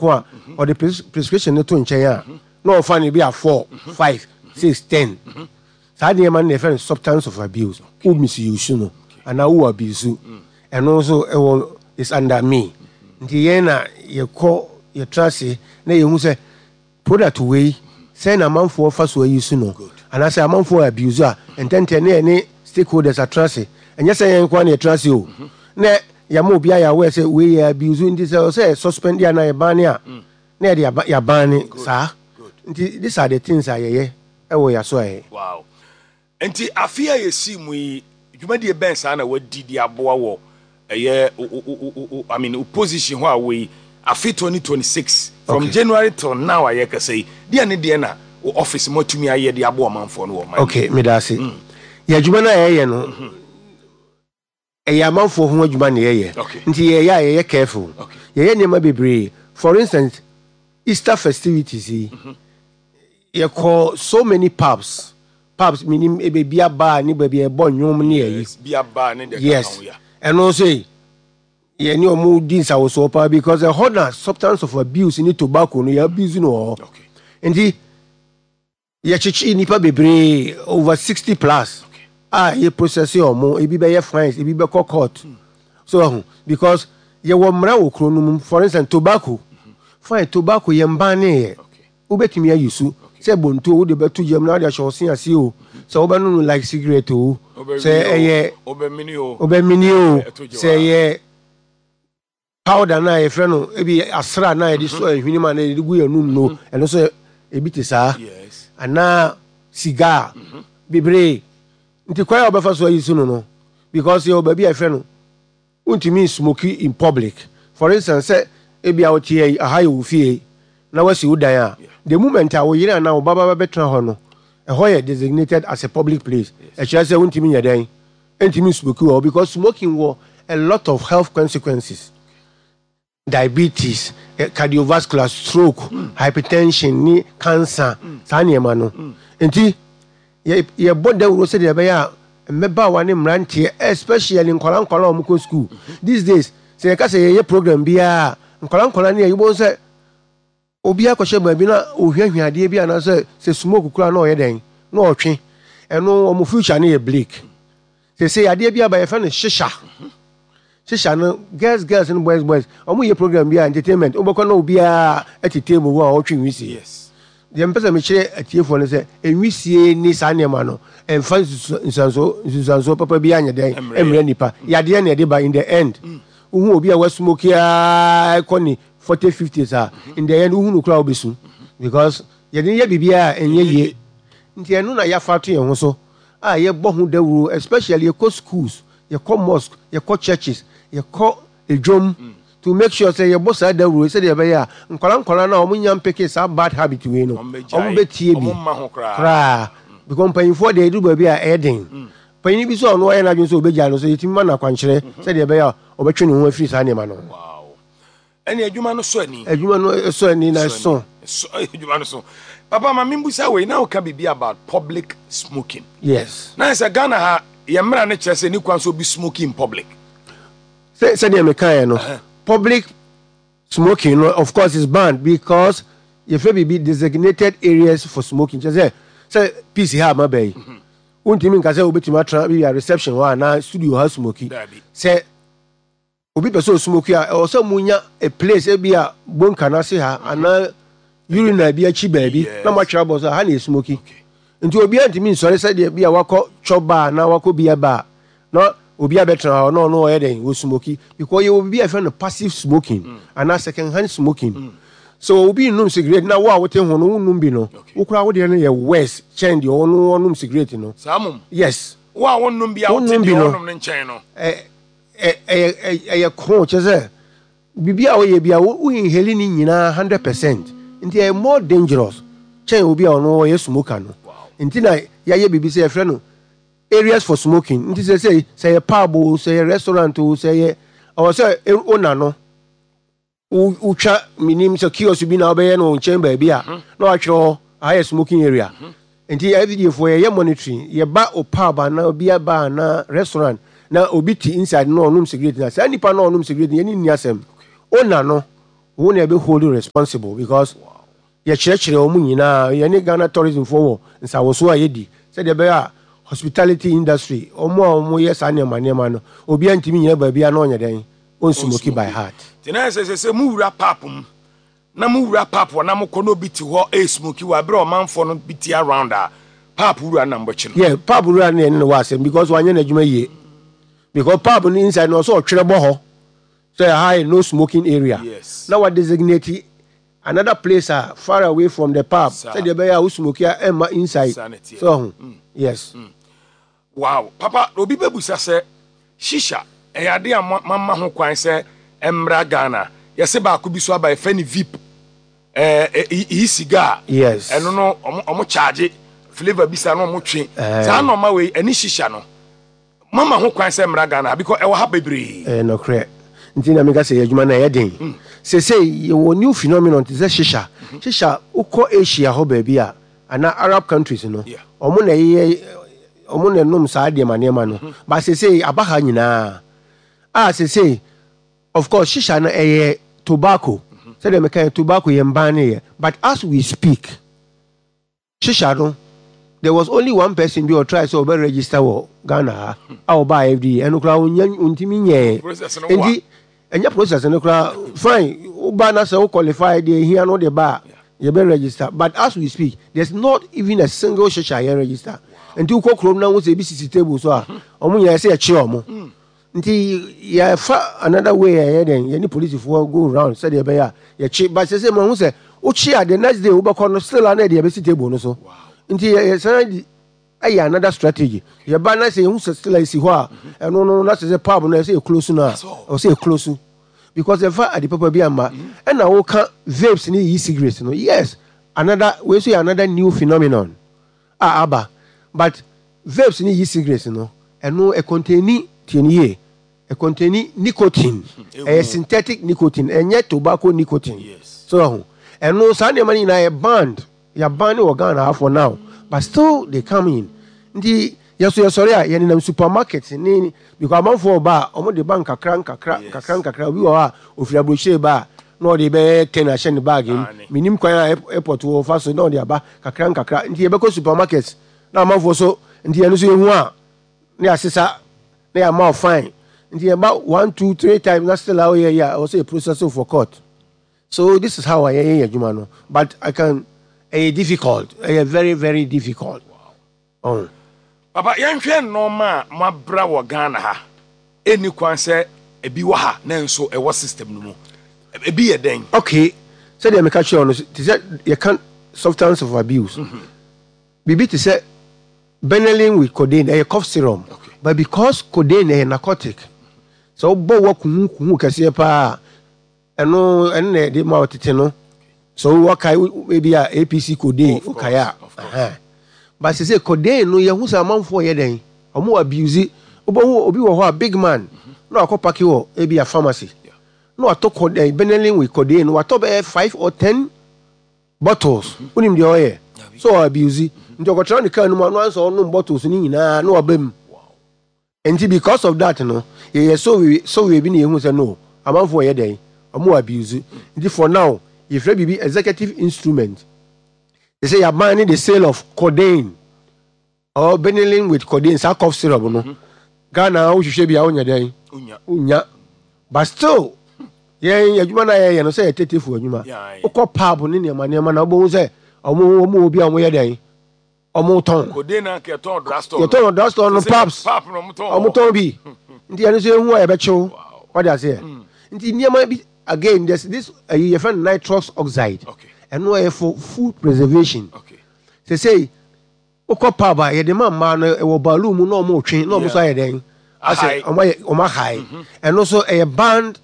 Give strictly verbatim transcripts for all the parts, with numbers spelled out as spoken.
baako a ɔde pres prescription no to nkyɛn a na ɔfa no bi a four, five, six, ten. Saa nneɛma no na yɛfrɛ no substance of abuse. Wo misuse no anaa wo abuse, ɛno nso ɛwɔ is under me. Nti yɛn na yɛkɔ yɛtra ase na yɛhu sɛ product wei sɛn na amanfoɔ fa so ayi so no anaasɛ amanfoɔ abuse a, ntɛntɛn ne yɛne stakeholders atena ase. Ɛnyɛ sɛ yɛn nkoa na yɛtena ase o, na yɛma obi ayɛ aware sɛ wei yɛ abuse, nti sɛ ɔsɛ suspend a na yɛban ne a na yɛde yɛaba- yɛaban ne saa. Nti these are the things a yɛyɛ ɛwɔ yɛaso a yɛ. Wow, nti afe a yɛsi mu yi, dwumadie bɛn saa na wadi de aboa wɔ ɛyɛ o- o- o- o- o- I mean, o position hɔ a wɔ yi, afe twenty twenty-six from Okay. January till now a yɛkasa yi, deɛ ne deɛ na wo office mo atumi ayɛ de aboa ɔmanfoɔ no wɔ ɔman? Okay, meda ase. Yɛ adwuma no a yɛyɛ no, ɛyɛ amanfoɔ ho adwuma na yɛyɛ. Okay. Nti yɛyɛ a yɛyɛ careful. Okay. Yɛyɛ nneɛma bebree. For instance, Easter festivities yi, yɛkɔ so many pubs pubs Menim baabi aba ne baabi a ɛbɔ nnwom ne yɛyi. Yes, bi aba ne deɛ yes ka ho ya. Ɛno nso yi, yɛne ɔmo di nsawosoɔ paa because ɛhɔ na substance of abuse ne tobacco no yɛ abuse no wɔ hɔ. Okay nti yɛkyekye nnipa bebree, over sixty plus Okay. a yɛ process ɔmo. Ebi bɛyɛ fines, ebi bɛkɔ court so ɛho because yɛwɔ mmara wɔ kuro no mu. For instance, tobacco fine, tobacco yɛn ban ne yɛ. Okay wobɛtumi ayi so sɛ bonto wode bɛto gyam na wode ahyɛ ɔse ase o, sɛ wobɛno no like cigarette o, sɛ ɛyɛ wobɛmini o, wobɛmini o, ɛto gya sɛ wa. ɛyɛ powder na yɛfrɛ no ebi asra na yɛde sɔ ehwene mu a na yɛde gu yɛn num no, ɛno nso ebi te saa yes anaa cigar bebree. Nti kwan a wɔbɛfa so ayi so no no because yɛwɔ baabi a yɛfrɛ no wontumi smoke in public. For instance, sɛ ebi a wote yi, aha yɛ wo fie na wasi wo dan a, the moment a wo yere anaa wo ba ba bɛtena hɔ no, ɛhɔ yɛ designated as a public place. Ɛkyerɛ sɛ wontumi nyɛ dɛn, ntumi smoke wɔ hɔ because smoking wɔ a lot of health consequences: diabetes, eh, cardiovascular, stroke, hypertension ne cancer, saa nneɛma no. Nti yɛ- yɛbɔ dawuro sɛdeɛ ɛbɛyɛ a mmɛbaawa ne mmeranteɛ, especially nkwadaa nkwadaa a wɔkɔ school these days, sɛ yɛka sɛ yɛyɛ program biara, nkwadaa nkwadaa ne yɛ yɛbɔ sɛ obi akɔhyɛ baabi na ohuahua adeɛ bi anaasɛ sɛ smoke kura na ɔyɛ dɛn na ɔtwe, ɛno wɔn future no yɛ bleak. Sɛ adeɛ bi aba, yɛfrɛ no shisha. Shisha no, girls girls ne boys boys, wɔn yɛ program bi a entertainment, wobɛkɔ na obiara ɛte table hɔ a ɔtwe nwisie. Yes deɛ mpɛ sɛ mekyerɛ atiefoɔ no sɛ enwisie ne saa nneɛma no ɛmfa nsusu- nsusuansoɔ nsusuansoɔ papa bi anyɛ dɛn ɛmmerɛ. Ɛmmerɛ nipa yadeɛ na ɛde ba. In the end, wohu obi a wasmoke a ɛkɔ ne forty, fifties a, in the end wohu no koraa wobɛsu because yɛde yɛ biribiara a ɛnyɛ yie. Nti ɛno na yɛafa to yɛn ho so a yɛbɔ ho dawuro, especially yɛkɔ schools, yɛkɔ mosque, yɛkɔ churches, yɛkɔ edwom to make sure sɛ yɛbɔ saa dawuro sɛdeɛ ɛbɛyɛ a nkwadaa nkwadaa no a wɔn nya mpeke saa bad habit wei no, ɔmo bɛgyae. wɔn bɛtie bi. Ɔmo mma ho koraa. Koraa, because mpanyinfoɔ deɛ, edu baabi a ɛyɛ den. Panyin bi so a ɔno ɔyɛ n'adwene sɛ ɔbɛgya no so, yɛtumi ma no akwankyerɛ sɛdeɛ ɛbɛyɛ a ɔbɛtwe ne ho afiri saa nneɛma no ho. Wow, ɛne adwuma no so ani. Adwuma no ɛsɔ ani na ɛso. So adwuma no so papa, ma membusa wei na woka biribi about public smoking. Yes. Na sɛ Ghana ha, yɛ mmara no kyerɛ sɛ ne kwan sɛ obi smoking in public? Sɛ sɛdeɛ mekaeɛ no, public smoking no, of course, is banned because yɛfrɛ biribi designated areas for smoking. Kyerɛ sɛ sɛ peace ha ama bɛyi, wontumi nka sɛ wobɛtumi atena bi a reception hɔ anaa studio ha smoke. Dabi. Sɛ obi pɛ sɛ osmoke a, ɛwɔ sɛ munya a place, ebi a bonka n'ase ha anaa urinal bi akyi baabi Yes. na moatwerɛ abɔ so ha na esmoke. Nti obiara ntumi nsɔre sɛdeɛ bi a wakɔ chop bar na wakɔ beer bar na obi abɛtena hɔ na ɔno ɔyɛ dɛn wɔ smoke, because yɛwɔ biribi a yɛfrɛ no passive smoking anaa second hand smoking. So obi nnum cigarette na wo a wote ho no wonnum bi no, Okay. wo koraa wodeɛ no yɛ worse kyɛn deɛ ɔno ɔnum cigarette no. Saa mom? Yes. Wo a wonnom bi a wote wonnom bi deɛ no. ɔnom no nkyɛn no. ɛ ɛ ɛyɛ ɛyɛ ɛyɛ kron, kyerɛ sɛ biribi a woyɛ bi a wo wo inhale ne nyinaa hundred percent, nti ɛyɛ more dangerous kyɛn obi a ɔno ɔyɛ smoker no. Nti na yɛayɛ biribi sɛ yɛfrɛ no areas for smoking. Nti sɛ sɛ sɛ yɛ pub o, sɛ yɛ restaurant o, sɛ yɛ ɔwɔ sɛ e- ona no wo- wotwa minim sɛ kiosk bi na wobɛyɛ no wo nkyɛn baabi a na watwerɛ hɔ aha yɛ smoking area. Nti F D A foɔ yɛyɛ monitoring. Yɛba o pub anaa obi aba anaa restaurant na obi te inside na ɔnom cigarette, na saa nipa na ɔnom cigarette, yɛne nni asɛm. Ona no Wo na ɛbɛ hold you responsible because yɛkyerɛkyerɛ wɔn nyinaa. Yɛne Ghana Tourism foɔ wɔ nsawoso a yɛdi sɛdeɛ ɛbɛyɛ a hospitality industry, wɔn a wɔyɛ saa nneɛma nneɛma no, obiara ntumi nyina baabi a na ɔnyɛ dɛn, ɔnsmoke by heart. Nti na sɛ sɛ sɛ mu wura pub mu na mu wura pub wɔ na mokɔ na obi te hɔ ɛsmoke wɔ abere a ɔmanfoɔ no bi te around a, pub wura nam bɔkyi no? Yeah, pub wura no, yɛne no wɔ asɛm because wanyɛ n'adwuma yie, because pub no inside no, ɔsɛ ɔtwerɛ bɔ hɔ sɛ ha yɛ no smoking area Yes. na wa designate another place a far away from the pub Saa. sɛdeɛ ɛbɛyɛ a wo smoke a, ɛmma inside. Saa na ɛteɛ. Sɛ ɔho, yes. Wow, papa, obi bɛbusa sɛ shisha ɛyɛ ade a mo- mama ho kwan sɛ ɛmmra Ghana. Yɛsɛ baako bi so aba, yɛfrɛ no vape, ɛɛ e cigar. Yes. Ɛno no, ɔmo ɔmo charge flavour bi sa na ɔmo twe. Eh. Saa nɔɔma wei ɛne shisha no, mama ho kwan sɛ mmra Ghana because ɛwɔ ha bebree? Ɛyɛ nokorɛ, nti na meka sɛ yɛ adwuma no ɛyɛ den. Sesei yɛwɔ new phenomenon te sɛ shisha. Shisha, wokɔ Asia hɔ baabi a anaa Arab countries no, Yeah. ɔmo na ɛyɛ, ɔmo na ɛnom saa nneɛma nneɛma no, but sesei aba ha nyinaa a sesei, of course, shisha no ɛyɛ tobacco. Sɛdeɛ meka yɛ, tobacco yɛ mban ne yɛ, but as we speak, shisha no, there was only one person bi ɔtry sɛ ɔbɛ register wɔ Ghana ha a ɔbaa F D A. Ɛno koraa ɔnya ntumi nyɛɛ. Process no wa. Nti ɛnyɛ process no koraa fine. Woba na sɛ wo qualify deɛ ehia no de ba a, yɛbɛ register, but as we speak, there's not even a single shisha yɛn register. Nti wokɔ kurom na wo sɛ ebi sisi table so a, ɔmo nyinaa sɛ yɛkye ɔmo. Nti yɛfa another way a yɛyɛ dɛn, yɛne polisifoɔ go round sɛdeɛ ɛbɛyɛ a yɛkye, but sɛ sɛ mo ho sɛ wokye a, the next day wobɛkɔ no, still a na yɛde yɛbɛsi table no so. Nti yɛ yɛsan di ɛyɛ another strategy. Yɛba na sɛ yɛhu sɛ still a esi hɔ a, ɛno no na sɛ sɛ pub no ɛsɛ yɛ close no a, That's all. ɔsɛ yɛ close because yɛfa ade papa bi ama. Ɛna woka vapes ne e-cigarettes no, yes, another wei so yɛ another new phenomenon a aba, but vapes ne e-cigarettes no, ɛno ɛcontain, tie ne yie, ɛcontain nicotine. Ɛyɛ synthetic nicotine, ɛnyɛ tobacco nicotine. Yes. So ɛho ɛno saa nneɛma no nyinaa yɛ banned, yɛ ban wɔ Ghana ha for now, but still they come in. Nti yɛso yɛsɔre a, yɛnenam supermarket ne because amanfoɔ ba a, ɔmo de ba nkakra nkakra. Yes. Nkakra nkakra. Obi wɔ hɔ a ofiri aburokyire ba a, na ɔde bɛyɛ ten ahyɛ ne bag mu. Ah, ne. Minim kwan a air- airport wɔ fa so na ɔde aba kakra nkakra. Nti yɛbɛkɔ supermarket na amanfoɔ so, nti yɛno so yɛhu a, ne yɛasesa na yɛama wo fine. Nti yɛba one, two, three times na still a woyɛ yi a, ɛwɔ sɛ yɛ process for court. So this is how a yɛyɛ yɛ adwuma no, but I can, ɛyɛ difficult, ɛyɛ very very difficult. Oh. Papa, yɛnhwɛ nneɛma a moabra wɔ Ghana ha, ɛnni kwan sɛ ebi wɔ ha na nso ɛwɔ system no mu. Ebi yɛ dɛn? Okay, sɛdeɛ meka kyerɛ wo no, te sɛ yɛka substance of abuse, biribi te sɛ Benylin with codeine, ɛyɛ cough syrup. Okay. But because codeine ɛyɛ narcotic, sɛ wobɔ wa kuhu kuhu kɛseɛ paa, ɛno ɛno na ɛde ma ɔtete no so wɔkae ebi a A P C codeine. Of course, wokae a of course. Ɛhɛn. But sɛ sɛ codeine no, yɛhu sɛ amanfoɔ yɛ dɛn, ɔmo abuse. Wobɛhu obi wɔ hɔ a, big man, na wakɔ pack wɔ ebi a pharmacy Yeah. na watɔ codeine, Benylin with codeine no, watɔ bɛyɛ five or ten bottles. Wonim deɛ ɔyɛ so ɔ abuse. Nti ɔkɔtena ne kaa no mu a, no ansa ɔnom bottles no nyinaa na waba mu. Nti because of that no, yɛyɛ survey survey bi na yɛhu sɛ no, amanfoɔ yɛ dɛn, ɔmo abuse. Nti for now, yɛfrɛ biribi executive instrument they say yɛaban ne the sale of codeine or Benylin with codeine, saa cough syrup no. Ghana wohwehwɛ bi a, wonyɛ dɛn? Onya. Wonya, but still yɛn adwuma no a yɛyɛ no sɛ yɛ tetefo adwuma. Yeah, wokɔ pub ne nneɛma nneɛma na wobɛhu sɛ ɔmo ɔmo wɔ bi a, ɔmo yɛ dɛn, ɔmo tɔn. Codeine na nka yɛtɔn drugstore. Yɛtɔn wɔ drugstore no, pubs. Pub no ɔmo tɔn. Ɔmo tɔn bi. Nti ɛno nso ehu a, yɛbɛkyew. Wow. Wɔde aseɛ. Nti nneɛma bi again, there's this ɛyi yɛfrɛ no nitrous oxide. Okay. Ɛno ɛyɛ for food preservation. Okay. Sɛsɛyi wokɔ pub a, yɛde ma mmaa no, ɛwɔ balloon mu na ɔmo twe na ɔmo nso ayɛ dɛn, asɛ Ahae. ɔmo ayɛ, ɔmo ahae. Ɛno nso ɛyɛ banned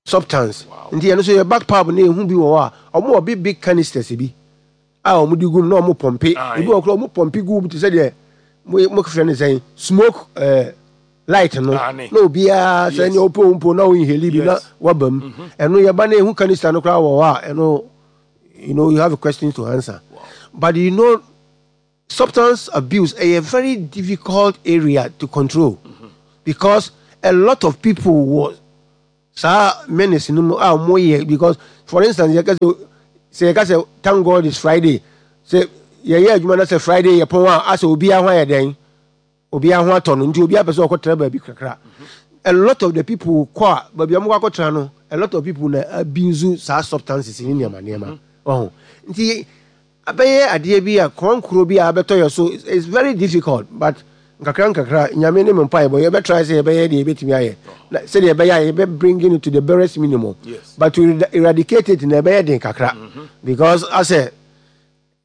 substance. Wow. Nti ɛno nso yɛ back pub na ehu bi wɔ hɔ a, ɔmo wɔ big big canisters bi a ɔmo de gu mu na ɔmo pump. Aye. Ebi wɔ koraa, ɔmo pump gu mu te sɛ deɛ mo mo frɛ no sɛn, smoke ɛɛ light no. Aane. Na obiara sɛ Yes. nea ɔpɛ mpo na ɔinhale bi na Yes. waba mu. Ɛno yɛba na ehu canister no koraa wɔ hɔ a, ɛno you know you have a question to answer. But you know substance abuse a very difficult area to control because a lot of people were Saa menace no mu a wɔyɛ, because for instance, yɛka sɛ sɛ yɛka sɛ "Thank God it's Friday", sɛ yɛyɛ adwuma na sɛ Friday yɛ pɔn a, asɛ obiara ho ayɛ dɛn, obiara ho atɔ no, nti obiara pɛ sɛ ɔkɔtena baabi kakra. A lot of the people kɔ a, baabi a wɔkɔ akɔtena no, a lot of people na abuse saa substances ne nneɛma nneɛma ɔho. Nti abɛyɛ adeɛ bi a kɔnkoro bi a abɛtɔ yɛ so. It's very difficult, but nkakra nkakra, Nyame ne mo mpaebɔ, yɛbɛtry sɛ yɛbɛyɛ deɛ yɛbɛtumi ayɛ na sɛdeɛ ɛbɛyɛ a yɛbɛ bringing it to the barest minimum. Yes. But to eradicate it na ɛbɛyɛ den kakra, because asɛ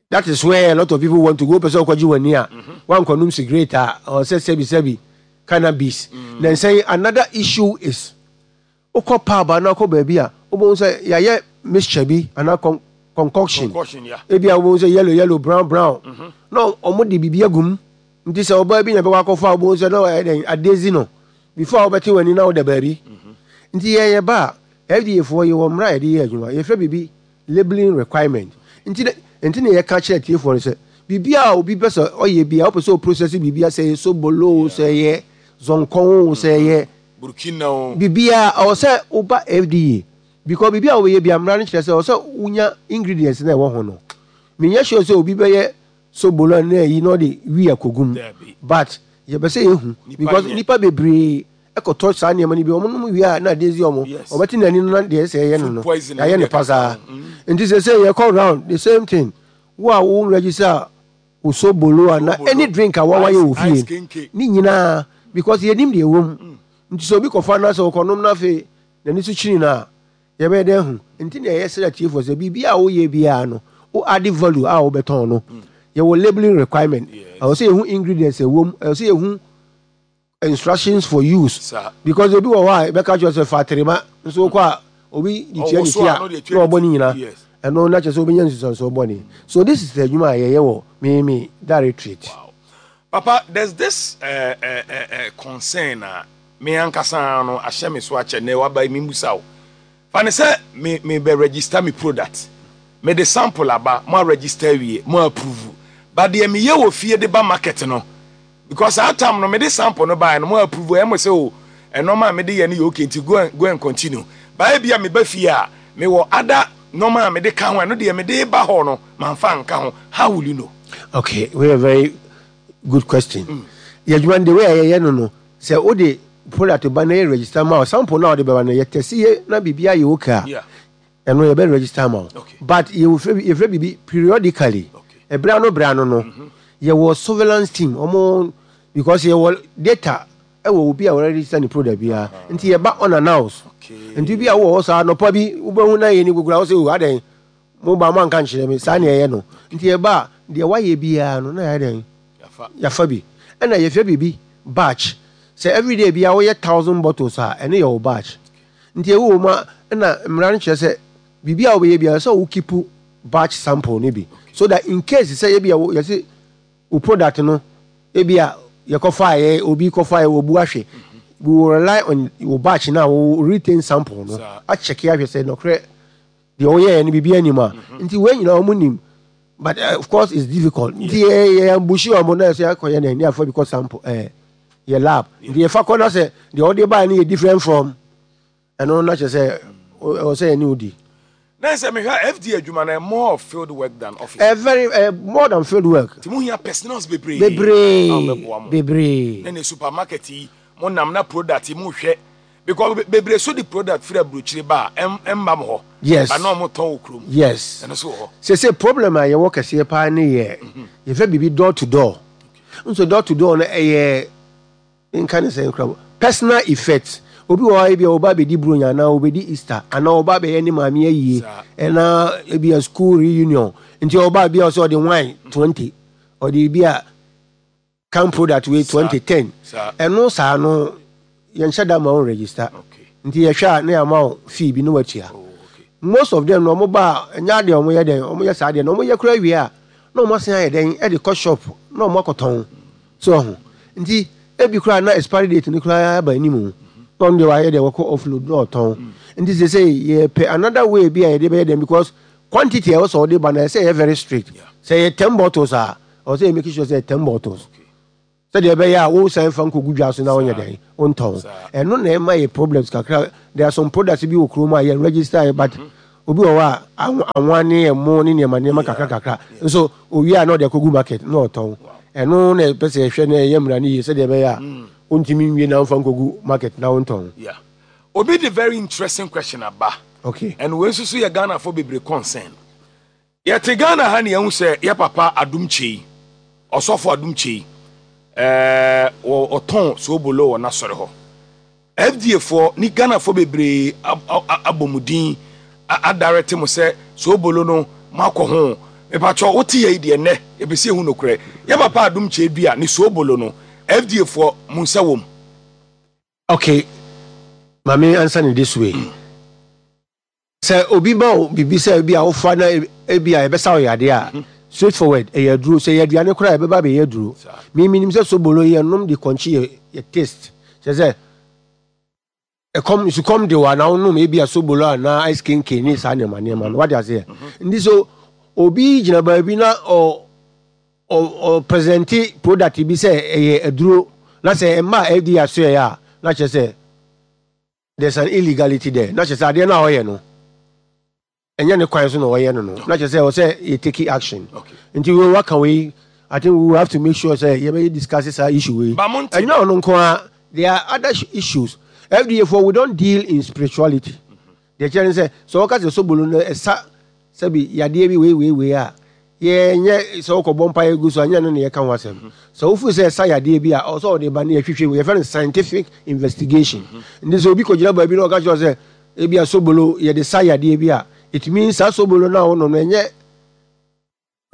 that is where a lot of people want to go. Pɛ sɛ ɔkɔgye w'ani a, wankɔnom cigarette a, ɔsɛ sɛbi sɛbi cannabis. Na nsɛn another issue is, wokɔ pub anaa wokɔ baabi a, wobɛhu sɛ yɛayɛ mixture bi anaa con concoction Concoction, yeah. Ebi a wobɛhu sɛ yellow yellow, brown brown, na ɔmo de biribi agu mu. Nti sɛ ɔbaa bi na ɛbɛkɔ akɔfa a, wobɛhu sɛ na ɔyɛ dɛn adezi no before a wobɛte w'ani na woda baabi. Nti yɛyɛ ba a, F D A foɔ, yɛwɔ mmara a yɛde yɛ adwuma, yɛfrɛ biribi labeling requirement. Nti ne nti ne yɛka kyerɛ tiefoɔ no sɛ biribi a obi pɛ sɛ ɔyɛ bi a, wopɛ sɛ ɔprocess biribi a, sɛ ɛyɛ sobolo o, sɛ ɛyɛ zɔnkɔn o, sɛ ɛyɛ Burkina o, biribiara, ɔwɔ sɛ woba F D A, because biribi a wobɛyɛ bi a, mmara no kyerɛ sɛ ɔwɔ sɛ wonya ingredients na ɛwɔ ho no. Menyɛ sure sɛ obi bɛyɛ sobolo na ɛyi na ɔde wi akɔgum. Dabi. But yɛbɛ sɛ yɛhu Nipa because nyɛ. nipa bebree ɛkɔtɔ saa nneɛma no bi, ɔmo nom wie a, na adeɛ si ɔmo. Yes. Ɔbɛte n'ani no na deɛ ɛsɛ ɛyɛ no no Food poison. Yɛayɛ no ne deɛ pasaa. kaka ho. Mm. Nti sɛ sɛ yɛkɔ round, the same thing, wo a wo register wo sobolo ana Sobolo. any drink a wawayɛ wɔ Ice- ice fie kenke. ne nyinaa, because yɛnim deɛ ɛwɔ mu. Nti sɛ obi kɔfa na sɛ ɔkɔnom no, afei n'ani so kyini no a, yɛbɛyɛ dɛn hu? Nti na ɛyɛ srɛ tiefoɔ sɛ biribi a woyɛ biara no, wo add value a wobɛtɔn no, yɛwɔ labeling requirement. Yes. Ɛwɔ sɛ yɛhu ingredients ɛwɔ mu, ɛwɔ sɛ yɛhu instructions for use. Saa. Because obi wɔ hɔ a ɛbɛka kyerɛ sɛ fa terema nso, wokɔ a, obi de tua Ɔwɔ ne so ti a, a na ɔde atua na ne ɔbɔ ti. ne nyinaa. Yes. Ɛno na kyerɛ sɛ wobɛnya nsusuansoɔ bɔne. So this is the adwuma a yɛyɛ wɔ me directorate. Papa, there's this uh, uh, uh, uh, concern a me ankasa no ahyɛ me so akyɛ na waba mi musa wo. Fa ne sɛ me me bɛ register me product. Me de sample aba, mo a register wie, mo approve. But deɛ me yɛ wɔ fie de ba market no, because saa time no me de sample no ba no, mo approve, ɛmo sɛ o ɛnɔɔma a me de yɛ no yɛ okay, nti go and go and continue. Ba ebi a me ba fie a, me wɔ other nɔɔma a me de ka ho, ɛno deɛ me de ba hɔ no, manfa nka ho. How will you know? Okay, we a very good question. Yɛ adwuma no, the way a yɛyɛ no no sɛ wode product ba na yɛ register ma wo, sample na wode bɛba no, yɛ test yɛ na biribi ayɛ okay a, Yeah. ɛno yɛbɛ register ma wo. Okay. But yɛwɔ yɛfrɛ biribi periodically. Okay. Ɛberɛ ano berɛ ano no, yɛwɔ surveillance team ɔmo, because yɛwɔ data ɛwɔ obi a wɔregister ne product biara, nti yɛba unannounced. Okay. Nti bi a wowɔ hɔ saa nɔpa bi, wobɛhu na yɛ ni gugura wo sɛ o, adɛn, mo ba mo anka nkyerɛ me saa? Neɛ ɛyɛ no nti yɛba a, deɛ wayɛ biara no na yɛayɛ dɛn? Yafa. Yɛafa bi. Ɛna yɛfrɛ biribi batch. Sɛ everyday biara woyɛ thousand bottles a, ɛno yɛ wo batch. Nti ɛwɔ mu a, ɛna mmara no kyerɛ sɛ biribi a wobɛyɛ biara, sɛ wo keep batch sample no bi, so that in case sɛ ebi a wo- yɛse wo product no ebi a yɛkɔfa yɛ, obi kɔfa yɛ, wɔbu ahwɛ, we will rely on wo batch na wo retain sample no. Saa. Akyɛke ahwɛ sɛ nɔkorɛ deɛ woyɛɛ no biribi anim a. Nti wei nyinaa ɔmo nim, but uh, of course it's difficult. Nti yɛ yɛ ambush ɔmo na yɛ akɔyɛ na ɛni afa bi kɔ sample ɛɛ yɛ lab. Nti yɛfa kɔ na sɛ deɛ ɔde baa no yɛ different from ɛno, na kyerɛ sɛ ɛwɔ sɛ yɛne wo di. Na sɛ mehwɛ F D A adwuma no, more of field work than office. Ɛ very ɛ more than field work. Nti mohia personnels bebree bebree a wɔbɛboa mo. Bebree. Ne ne supermarket yi, mo nam na product yi mohwɛ, because be- bebree so de product firi aburokyire ba a, ɛm- ɛmba mo hɔ. Yes. Ba na ɔmo tɔn wɔ kurom. Yes. Ɛno so wɔ hɔ. Sese problem a yɛwɔ kɛseɛ paa ne yɛ yɛfɛ biribi door to door. Nso door to door no, ɛyɛ nka ne sɛ nkura personal effect. Obi wɔ hɔ a, ebi a ɔba abɛdi Buronya anaa ɔbɛdi Easter anaa ɔba abɛyɛ ne maame ayie Saa. ɛna ebi a school reunion, nti ɔba bi a ɔsɛ ɔde wine twenty, ɔde bi a can product wei twenty ten. Saa. Ɛno saa no, yɛnhyɛ da ma wo register. Okay nti yɛhwɛ a, ne yɛama wo fee bi ne watua. Oh, okay. Most of them no, ɔmo ba a, ɛnyɛ adeɛ ɔmo yɛ dɛn, ɔmo yɛ saa adeɛ na ɔmo yɛ kora wie a, na ɔmo asan ayɛ dɛn, ɛde kɔ shop na ɔmo akɔtɔn so ɔho. Nti ebi koraa na expiry date no koraa aba anim na ɔno deɛ wayɛ deɛ wɔkɔ offload na ɔtɔn. Nti sɛ sɛ yɛpɛ another way bi a yɛde bɛyɛ dɛn, because quantity a ɛwɔ sɛ ɔde ba no, ɛsɛ yɛ very strict. Yeah. Sɛ yɛ ten bottles a, ɔwɔ sɛ yɛ make sure sɛ yɛ ten bottles. Okay. Sɛdeɛ ɛbɛyɛ a wosan fa nkɔgu dwa so na wonyɛ dɛn wontɔn. Ɛno na ɛma yɛ problems kakra. There are some products bi wɔ kurom a yɛn register yɛ, but obi wɔ hɔ a anwa ne ɛmo ne nneɛma nneɛma kakra kakra nso owie a, na ɔde akɔgu market na ɔtɔn. Ɛno na ɛpɛ sɛ yɛhwɛ na ɛyɛ mmara no yie, sɛdeɛ ɛbɛyɛ a wontumi nwie na womfa nkɔgu market na wontɔn. Yeah, obi de very interesting question aba. Okay and wei nso so yɛ Ghanafoɔ bebree concern. Yɛte Ghana ha ne yɛhu sɛ yɛ papa Adom Kyei, Ɔsɔfo Adom Kyei, ɛɛ ɔtɔn soobolo wɔ n'asɔre hɔ. F D A foɔ ne Ghanafoɔ bebree abɔ mu din adarete mo sɛ soobolo no moakɔ ho. Mepatwɔ, wote yɛ yi deɛ, nnɛ yɛpɛ ehu nokorɛ. Yɛ papa Adom Kyei dua ne soobolo no, F D A foɔ, mo nsa wɔ mu? Okay, maame, answer ne this way: sɛ obi ma wo biribi sɛ ebi a wofa na ebi a ɛbɛsa wo yadeɛ a, straight forward, ɛyɛ aduro. Sɛ yɛ aduane koraa, ɛbɛba bɛyɛ aduro. Miminim sɛ sobolo yɛ nom de kɔnkye yɛ yɛ taste, kyerɛ sɛ ɛkɔm nsukɔm de wa na wonom ebi a sobolo anaa ice kenken ne saa nneɛma nneɛma no, wade aseɛ. Nti so obi gyina baabi na ɔ ɔ ɔ present product bi sɛ ɛyɛ aduro na sɛ ɛma F D A aso yɛ a, na kyerɛ sɛ there's an illegality there, na kyerɛ sɛ adeɛ no a ɔyɛ no, ɛnyɛ ne kwan so na ɔyɛ no no na kyerɛ sɛ ɔsɛ yɛ take action. Nti wei waka wei, I think we will have to make sure sɛ yɛbɛyɛ discuss saa issue wei. Ɛnyɛ ɔno nko ara, there are other issues. F D A foɔ, we don't deal in spirituality. Deɛ kyerɛ ne sɛ sɛ wɔka sɛ sobolo no ɛsa sɛbi yadeɛ bi wei wei wei a, yɛnyɛ sɛ wokɔbɔ mpa yɛ gu so, anyɛ no ne yɛka ho asɛm. Sɛ wofu sɛ ɛsa yadeɛ bi a, ɔsɛ ɔde ba ne yɛhwehwɛ mu, yɛfrɛ no scientific investigation. Nti sɛ obi kɔgyina baabi na ɔka kyerɛ sɛ ebi a sobolo yɛde sa yadeɛ bi a, it means saa sobolo no a wonom no, ɛnyɛ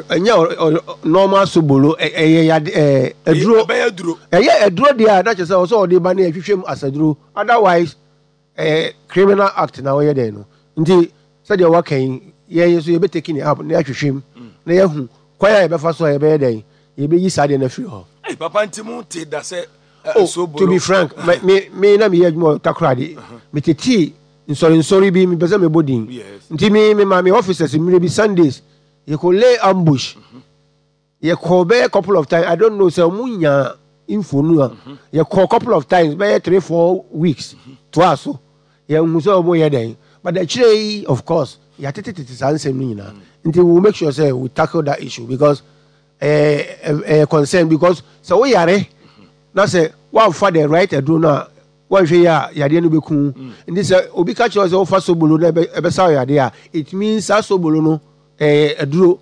ɛnyɛ normal sobolo, ɛyɛ yade ɛɛ aduro. Ɛyɛ aduro deɛ a, na kyerɛ sɛ ɔsɛ ɔde ba ne yɛhwehwɛ mu asaduro, otherwise ɛyɛ criminal act na wɔyɛ dɛn no. Nti sɛdeɛ waka yi, yɛn nso yɛbɛ take ne up na yɛahwehwɛ mu na yɛahu kwan a yɛbɛfa so a yɛbɛyɛ dɛn yɛbɛyi saa deɛ no afiri hɔ. Hey, papa, nti mu te da sɛ oh, to be frank, me me me na meyɛ adwuma wɔ Takoradi, metetee nsɔrensɔre bi, mepɛ sɛ mebɔ din. Nti me me ma me officers mmerɛ bi, Sundays yɛkɔ lay ambush. Yɛkɔ bɛyɛ couple of times, I don't know sɛ ɔmo nya info no a, yɛkɔ couple of times, bɛyɛ three four weeks toa so, yɛnhu sɛ ɔmo yɛ dɛn. But akyire yi, of course, yɛatetetete saa nsɛm no nyinaa. Nti we will make sure sɛ we tackle that issue because ɛyɛ ɛyɛ concern, because sɛ woyare na sɛ woamfa the right aduro no a, wɔnhwɛ yi a, yadeɛ no bɛku. Nti sɛ obi ka kyerɛ sɛ wofa sobolo na ɛbɛsa wo yadeɛ a, it means saa sobolo no ɛyɛ aduro.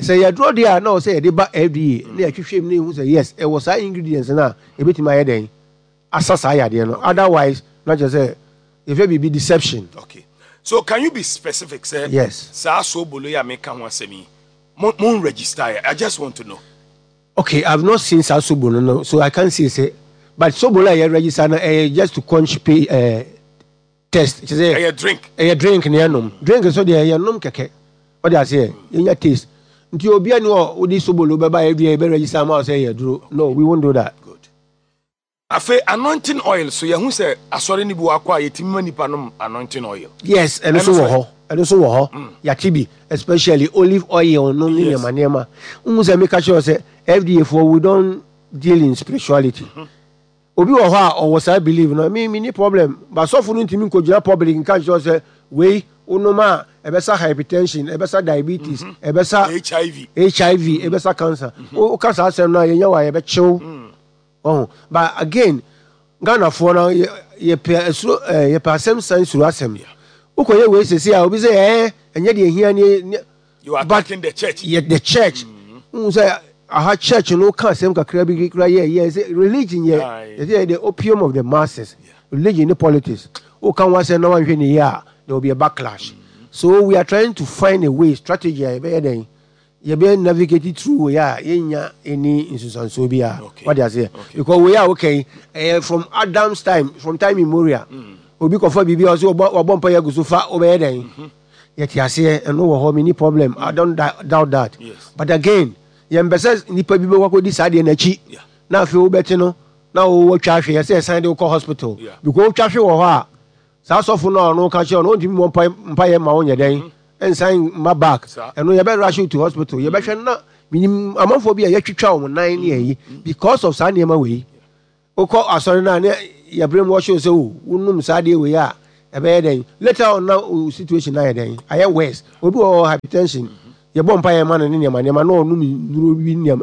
Sɛ yɛ aduro deɛ a, na ɔsɛ yɛde ba F D A na yɛhwehwɛ mu na yɛhu sɛ yes, ɛwɔ saa ingredients no a ɛbɛtumi ayɛ dɛn asa saa yadeɛ no. Otherwise na kyerɛ sɛ yɛfɛ biribi deception. Okay, so can you be specific sɛ yes saa sobolo yi a meka ho asɛm yi, mo mo register yɛ? I just want to know. Okay, I've not seen saa sobolo no, so I can't say say, but sobolo a yɛ register no, ɛyɛ just to quench pay uh, taste, kyerɛ sɛ ɛyɛ drink. Ɛyɛ drink ne yɛnom. Drink nso deɛ, yɛnom kɛkɛ, ɔde aseɛ yɛnya taste. Nti obi ani wɔ wode sobolo bɛba yɛ dua, yɛbɛ register ama wo sɛ ɛyɛ duro? No, we won't do that. Good. Afei anointing oil so, yɛho sɛ asɔre no bi wɔ akɔ a yɛtumi ma nipa nom anointing oil. Yes, ɛno nso wɔ hɔ, ɛno nso wɔ hɔ. Yɛate bi, especially olive oil no ne nneɛma nneɛma. Wohu sɛ meka kyerɛ wo sɛ F D A foɔ, we don't deal in spirituality. Obi wɔ hɔ a ɔwɔ saa believe no, me me ni problem, but sɔfo no ntumi nkɔgyina public nka nkyerɛ wo sɛ wei wonom a ɛbɛsa hypertension, ɛbɛsa diabetes, ɛbɛsa H I V, H I V, ɛbɛsa cancer. Woka saa asɛm no a, yɛnya wɔ a yɛbɛkyew ɔho. But again, Ghanafoɔ no, yɛpɛ asuro, ɛɛ yɛpɛ asɛm san suro asɛm. Wokɔyɛ wei sese a, obi sɛ ɛɛ ɛnyɛ deɛ ehia ne. You are attacking the church. Yɛ the church n sɛ aha church no ka asɛm kakra bi kura yɛ yɛ sɛ religion yɛ yɛ sɛ the opium of the masses. Religion ne politics, woka ho asɛm na wanhwɛ ne yie a, there will be a backlash. So we are trying to find a way, strategy a yɛbɛyɛ dɛn yɛbɛ navigate through wei a yɛnya any nsusansoɔ bi a wade aseɛ, because wei a woka yi, ɛyɛ from Adam's time, from time immemorial. Obi kɔfa biribi a ɔsɛ wabɔ mpa yɛ agu so fa, wobɛyɛ dɛn? Yɛte aseɛ, ɛno wɔ hɔ, menni problem, I don't doubt that. But again, yɛmpɛ sɛ nipa bi bɛkɔ akɔdi saa deɛ n'akyi na afei wobɛte no na wowɔ twa ahwe, yɛsɛ yɛsan de wokɔ hospital, because wotwa hwe wɔ hɔ a, saa sɔfo no a ɔno ka kyerɛ ɔno, ɔntumi mmɔ mpaeɛ ma wonyɛ dɛn nsan mma back. Ɛno yɛbɛ rush you to hospital, yɛbɛhwɛ na Menim amanfoɔ bi a yɛtwitwa wɔn nan ne ayi because of saa nneɛma wei. Wokɔ asɔre no a, ne yɛbrɛ mu wɔhyɛ wo sɛ o, wonom saa adeɛ wei a, ɛbɛyɛ dɛn? Later on na wo situation no ayɛ dɛn? Ayɛ worse. Obi wɔ hɔ, hypertension, yɛbɔ mpaeɛ ma no ne nneɛma nneɛma na ɔnom nnuro bi nneɛma,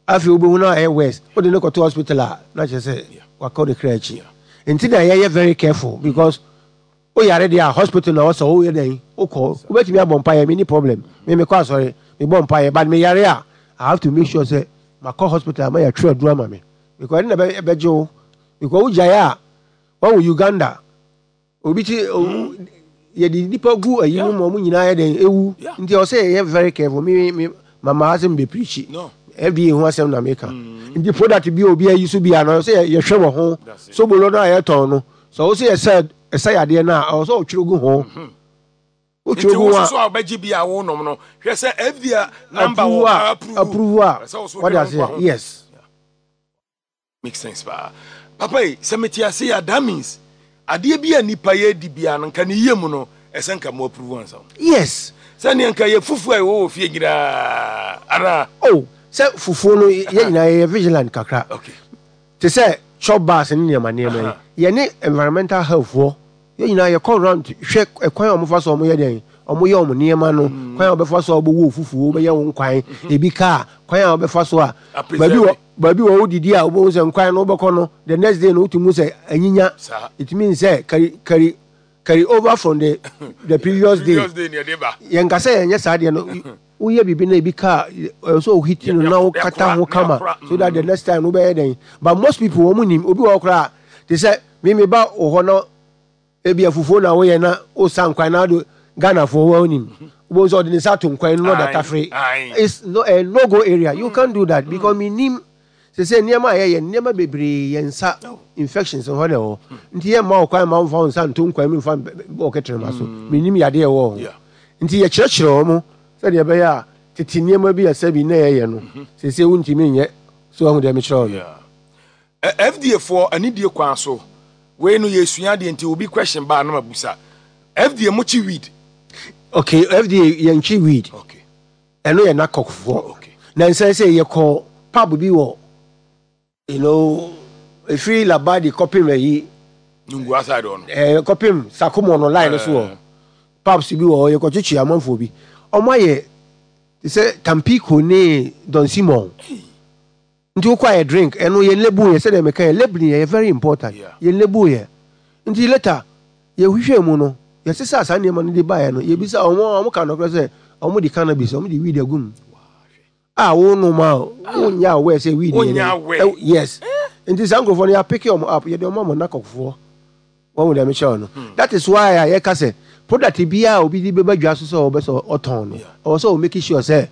afei wobɛhu no ayɛ worse. Wode no kɔto hospital a, na kyerɛ sɛ wakɔ ne kra akyi. Nti na yɛyɛ very careful, because woyare deɛ a, hospital na wɔsɛ woyɛ dɛn? Wokɔ. Wobɛtumi abɔ mpaeɛ, menni problem, me mekɔ asɔre, mebɔ mpaeɛ, but meyare a, I have to make sure sɛ makɔ hospital ma yɛatwerɛ aduro ama me, because ɛno na ɛbɛgye wo, because wogyae a, wawo Uganda obi ti yɛde nipa gu ayi mu ma ɔmo nyinaa yɛ dɛn? Ewu. Nti ɔsɛ yɛyɛ very careful. Me me mama asɛm bɛ preach F D A ho asɛm na meka. Nti product bi a obi ayi so bi a no, ɔsɛ yɛhwɛ wɔ ho. Sobolo no a yɛtɔn no, sɛ ɔsɛ yɛsɛ ɛsɛ yadeɛ no a, ɔwɔ sɛ ɔtwerɛ gu ho. Nti wotwerɛ gu wo ho a soso a wobɛgye bi a wonom no, hwɛ sɛ F D A number approve wɔ a approve. Approve a Ɛsɛ wo so wɔde hwɛ wo nkwa aseɛ ho. Yes. Make sense paa, papa yi. Sɛ mete ase a, that means adeɛ bi a nipa yɛ di bia no, nka ne yie mu no, ɛsɛ nka mo approve ansa wo. Yes. Sɛneɛ nka yɛ fufuo a ɛwɔ wɔ fie nyinaa anaa? Oh, sɛ fufuo no, yɛn nyinaa yɛyɛ vigilant kakra. Okay te sɛ chop bars ne nneɛma nneɛma yi, yɛne environmental health foɔ, yɛn nyinaa yɛkɔ round hwɛ ɛkwan a wɔfa so wɔyɛ dɛn, wɔyɛ wɔn nneɛma no, kwan a wɔbɛfa so a wɔbɛwɔ fufuo, wɔbɛyɛ wɔn nkwan, ebi kaa kwan a wɔbɛfa so a baabi wɔ baabi wɔ wodidi a, wobɛhu sɛ nkwan no wobɛkɔ no, the next day no, wotumi hu sɛ anyinya. Saa. It means sɛ carry carry carry over from the the previous day. Previous day ne ɛde ba. Yɛn kasa yɛn nyɛ saa deɛ no, woyɛ biribi na ebi kaa ɛwɔ sɛ ohiti no na wokata ho kama so that the next time no wobɛyɛ dɛn. But most people wɔn nim. Obi wɔ hɔ koraa te sɛ mimi ba wɔ hɔ na ebi afufuo na woyɛ na wosa nkwan na ado, Ghanafoɔ wɔn nim, wobɛhu sɛ ɔde ne nsa ato nkwan no na ɔda tafere. Aye. It's no a no go area. You can't do that because mi nim sɛ sɛ nneɛma a yɛyɛ, nneɛma bebree, yɛn nsa infections hɔ na ɛwɔ. Nti yɛn mma ɔkwan ma nfa wo nsa nto nkwan mu nfa bɔ ɔkɛtɛrɛma so. Mi nim yadeɛ ɛwɔ hɔ. Yeah. Nti yɛkyerɛkyerɛ wɔn sɛdeɛ ɛbɛyɛ a tete nneɛma bi a sɛbi na yɛyɛ no sese wontumi nyɛ so. Ɔho deɛ mekyerɛ wo no. Yeah. Ɛ- F D A foɔ anidie kwan so, wei no yɛsua adeɛ, nti obi question baa no mabusa. F D A mo kyi weed? Okay, F D A yɛnkyi weed. Okay ɛno yɛ NACOC foɔ. Okay na nsɛn sɛ yɛkɔ pub bi wɔ you know efiri Labadi kɔpem ayi Nungua side hɔ no. ɛɛ kɔpem Sakomo no line no so wɔ pubs bi wɔ hɔ. Yɛkɔkyekye amanfoɔ bi, ɔmo ayɛ te sɛ Tampico ne Don Simon. Nti wokɔ ayɛ drink, ɛno yɛn label yɛ sɛdeɛ meka yɛ labeling yɛ very important. Yeah. Yɛn label yɛ. Nti later yɛhwehwɛ mu no, yɛsesa saa nneɛma no de baeɛ no, yɛbisa ɔmo a ɔmo ka nɔkorɛ sɛ ɔmo de cannabis, ɔmo de weed agu mu a wonom a wonyɛ aware sɛ weed yɛ Wonyɛ dɛn. aware. Ɛw- yes nti saa nkurɔfoɔ no, yɛapick ɔmo up, yɛde ɔmo ama NACOC foɔ. Wɔn mu deɛ mekyerɛ wo no, that is why a yɛka sɛ product biara a obi de bɛba dwa so sɛ ɔbɛ sɛ ɔtɔn no, Yeah. ɔwɔ sɛ ɔmake sure sɛ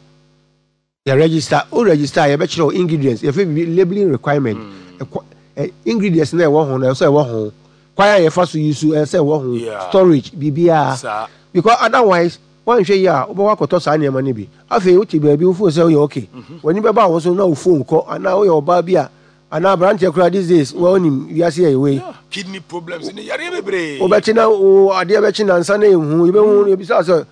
yɛ register. O register a, yɛbɛkyerɛ wo ingredients. Yɛfɛ bibi labeling requirement. Ɛkɔ ɛ ingredients na ɛwɔ ho no, ɛwɔ sɛ ɛwɔ ho, kwan a yɛfa so yi so, ɛwɔ sɛ ɛwɔ ho, Yeah. storage, biribiara, Saa. because otherwise wɔnhwɛ yi a, wobɛkɔ akɔtɔ saa nneɛma no bi. Afei wote baabi, wofo sɛ woyɛ okay, w'ani bɛba wo so na wo phone kɔ, anaa woyɛ ɔbaa bi a, anaa aberanteɛ koraa, these days wɔnim wiase yɛ wei. Yeah. Kidney problems ne yareɛ bebree. Wobɛkye na wo adeɛ bɛkye nansa na ɛhu, yɛbɛhu, yɛbisa sɛ